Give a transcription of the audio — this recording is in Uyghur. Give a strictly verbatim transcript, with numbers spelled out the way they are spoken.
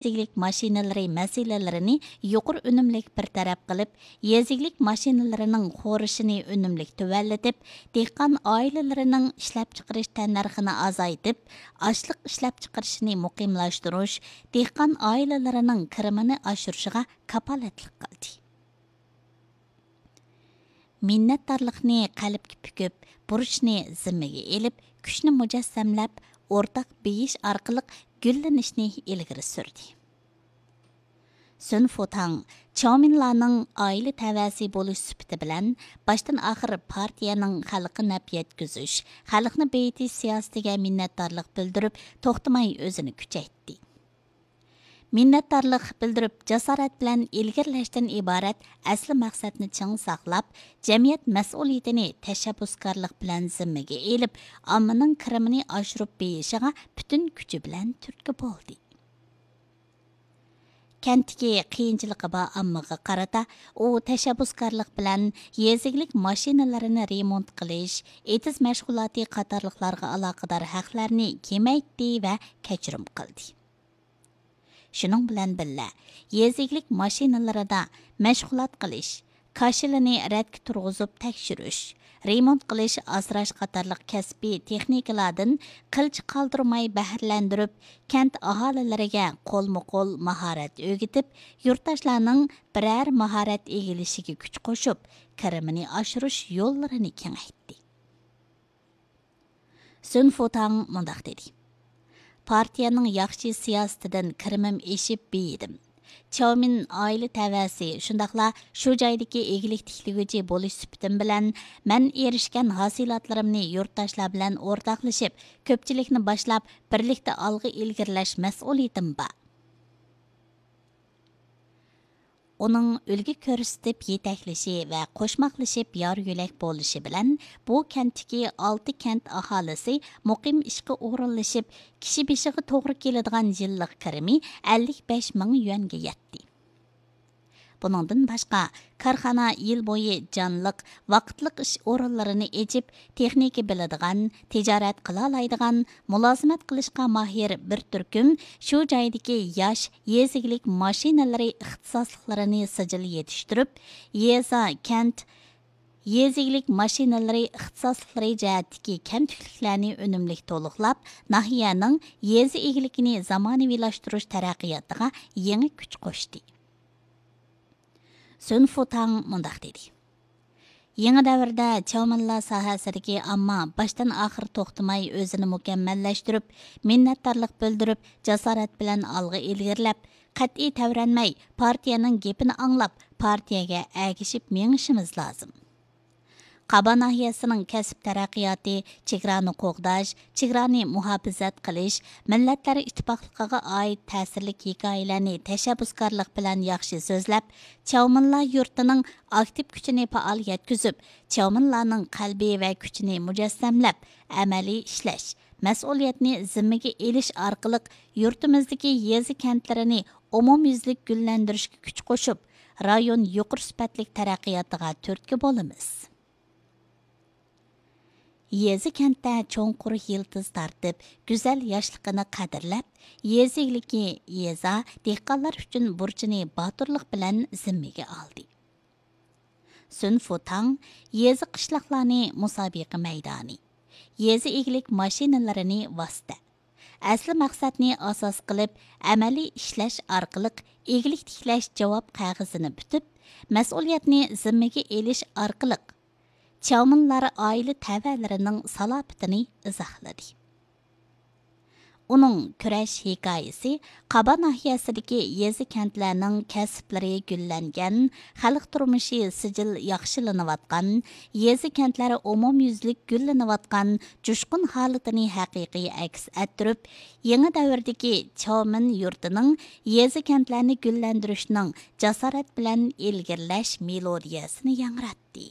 ئىگىلىك ماشىنىلىرى مەسىلىلىرىنى يۇقىرى ئۈنۈملۈك بىر تەرەپ قىلىپ، يېزا ئىگىلىك ماشىنىلىرىنىڭ خورىشىنى ئۈنۈملۈك تۆۋەنلىتىپ، دېھقان ئائىلىلىرىنىڭ ئىشلەپچىقىرىش تەننەرخىنى ئازايتىپ، ئاشلىق ئىشلەپچىقىرىشىنى مۇقىملاشتۇرۇش، دېھقان ئائىلىلىرىنىڭ كىرىمىنى ئاشۇرۇشىغا كاپالەتلىك قىلدى. مىننەتدارلىقنى قەلبكە پۈكۈپ، بۇرچنى زىممىگە ئېلىپ، كۈچنى مۇجەسسەملەپ، ئورتاق بېيىش ئارقىلىق گۈللىنىشنى ئىلگىرى سۈردى. سۈن فۇتاڭ چاۋمىنلارنىڭ ئائىلە تەۋەسى بولۇش سۈپىتى بىلەن باشتىن ئاخىر پارتىيەنىڭ خەلققە نەپ يەتكۈزۈش، خەلقنى بېيىتىش سىياسىتىگە مىننەتدارلىق بىلدۈرۈپ، توختىماي ئۆزىنى كۈچەيتتى. مىننەتدارلىق بىلدۈرۈپ، جاسارەت بىلەن ئىلگىرىلەشتىن ئىبارەت ئەسلى مەقسەتنى چىڭ ساقلاپ، جەمئىيەت مەسئۇلىيىتىنى تەشەببۇسكارلىق بىلەن زىممىگە ئېلىپ، ئاممىنىڭ كىرىمىنى ئاشۇرۇپ بېيىشىغا پۈتۈن كۈچى بىلەن تۈرتكە بولدى. كەنتتىكى قىيىنچىلىقى بار ئاممىغا قارىتا، ئۇ تەشەببۇسكارلىق بىلەن يېزا ئىگىلىك ماشىنىلىرىنى رېمونت قىلىش، ئېتىز مەشغۇلاتى قاتارلىقلارغا ئالاقىدار ھەقلەرنى كېمەيتتى ۋە كەچۈرۈم قىلدى. شۇنىڭ بىلەن بىللە، يېزا ئىگىلىك ماشىنىلىرىدا مەشغۇلات قىلىش، كاشىلىنى رەتكە تۇرغۇزۇپ تەكشۈرۈش، رېمونت قىلىش، ئاسراش قاتارلىق كەسپىي تېخنىكىلاردىن قىلچە قالدۇرماي بەھرىلەندۈرۈپ، كەنت ئاھالىلىرىگە قولمۇ قول ماھارەت ئۆگىتىپ، يۇرتداشلارنىڭ بىرەر ماھارەت ئىگىلىشىگە كۈچ قوشۇپ، كىرىمىنى ئاشۇرۇش يوللىرىنى كېڭەيتتى. سۈن فۇتاڭ مۇنداق دېدى: پارتىيەنىڭ ياخشى سىياسىتىدىن كىرىمىم ئېشىپ بېيىدىم. چاۋمىن ئائىلە تەۋەسى، شۇنداقلا شۇ جايدىكى ئىگىلىك تىكلىگۈچى بولۇش سۈپىتىم بىلەن، مەن ئېرىشكەن ھاسىلاتلىرىمنى يۇرتداشلار بىلەن ئورتاقلىشىپ، كۆپچىلىكنى باشلاپ، بىرلىكتە ئالغا ئىلگىرىلەش مەسئۇلىيىتىم بار. ئۇنىڭ ئۈلگە كۆرسىتىپ يېتەكلىشى ۋە قوشماقلىشىپ يار يۆلەك بولۇشى بىلەن، بۇ كەنتتىكى ئالتە كەنت ئاھالىسى مۇقىم ئىشقا ئورۇنلىشىپ، كىشى بېشىغا توغرا كېلىدىغان يىللىق كىرىمى ئەللىك بەش مىڭ يۈەنگە يەتتى. بۇنىڭدىن باشقا، كارخانا يىل بويى جانلىق، ۋاقىتلىق ئىش ئورۇنلىرىنى ئېچىپ، تېخنىكا بىلىدىغان، تىجارەت قىلالايدىغان، مۇلازىمەت قىلىشقا ماھىر بىر تۈركۈم شۇ جايدىكى ياش يېزا ئىگىلىك ماشىنىلىرى ئىختىساسلىقلىرىنى سىجىل يېتىشتۈرۈپ، يېزا، كەنت يېزا ئىگىلىك ماشىنىلىرى ئىختىساسلىقلىرى جەھەتتىكى كەمتۈكلۈكلەرنى ئۈنۈملۈك تولۇقلاپ، ناھىيەنىڭ يېزا ئىگىلىكىنى زامانىۋىلاشتۇرۇش تەرەققىياتىغا يېڭى كۈچ قوشتى. سۈن فۇتاڭ مۇنداق دېدى: يېڭى دەۋردە چاۋمىنلا ساھەسىدىكى ئامما باشتىن ئاخىر توختىماي ئۆزىنى مۇكەممەللەشتۈرۈپ، مىننەتدارلىق بىلدۈرۈپ، جاسارەت بىلەن ئالغا ئىلگىرىلەپ، قەتئىي تەۋرەنمەي، پارتىيەنىڭ گېپىنى ئاڭلاپ، پارتىيەگە ئەگىشىپ مېڭىشىمىز لازىم. قابا ناھىيەسىنىڭ كەسىپ تەرەققىياتى، چېگرانى قوغداش، چېگرانى مۇھاپىزەت قىلىش، مىللەتلەر ئىتتىپاقلىقىغا ئائىت تەسىرلىك ھېكايىلەرنى تەشەببۇسكارلىق بىلەن ياخشى سۆزلەپ، چاۋمىنلا يۇرتىنىڭ ئاكتىپ كۈچىنى پائال يەتكۈزۈپ، چاۋمىنلانىڭ قەلبى ۋە كۈچىنى مۇجەسسەملەپ، ئەمەلىي ئىشلەش، مەسئۇلىيەتنى زىممىگە ئېلىش ئارقىلىق يۇرتىمىزدىكى يېزا، كەنتلىرىنى ئومۇميۈزلۈك گۈللەندۈرۈشكە كۈچ قوشۇپ، رايون يۇقىرى سۈپەتلىك تەرەققىياتىغا تۈرتكە بولىمىز. يېزا، كەنتتە چوڭقۇر يىلتىز تارتىپ، گۈزەل ياشلىقىنى قەدىرلەپ، يېزا ئىگىلىكى، يېزا، دېھقانلار ئۈچۈن بۇرچىنى باتۇرلۇق بىلەن زىممىگە ئالدى. سۈن فۇتاڭ يېزا، قىشلاقلارنى مۇسابىقە مەيدانى، يېزا ئىگىلىك ماشىنىلىرىنى ۋاسىتە، ئەسلى مەقسەتنى ئاساس قىلىپ، ئەمەلىي ئىشلەش ئارقىلىق ئىگىلىك تىكلەش جاۋاب قەغىزىنى پۈتۈپ، مەسئۇلىيەتنى زىممىگە ئېلىش ئارقىلىق چاۋمىنلار ئائىلە تەۋەلىرىنىڭ سالاپىتىنى ئىزاھلىدى. ئۇنىڭ كۈرەش ھېكايىسى قابا ناھىيەسىدىكى يېزا، كەنتلەرنىڭ كەسىپلىرى گۈللەنگەن، خەلق تۇرمۇشى سىجىل ياخشىلىنىۋاتقان، يېزا، كەنتلەر ئومۇميۈزلۈك گۈللىنىۋاتقان جۇشقۇن ھالىتىنى ھەقىقىي ئەكس ئەتتۈرۈپ، يېڭى دەۋردىكى چاۋمىن يۇرتىنىڭ يېزا، كەنتلەرنى گۈللەندۈرۈشنىڭ جاسارەت بىلەن ئىلگىرىلەش مېلودىيەسىنى ياڭراتتى.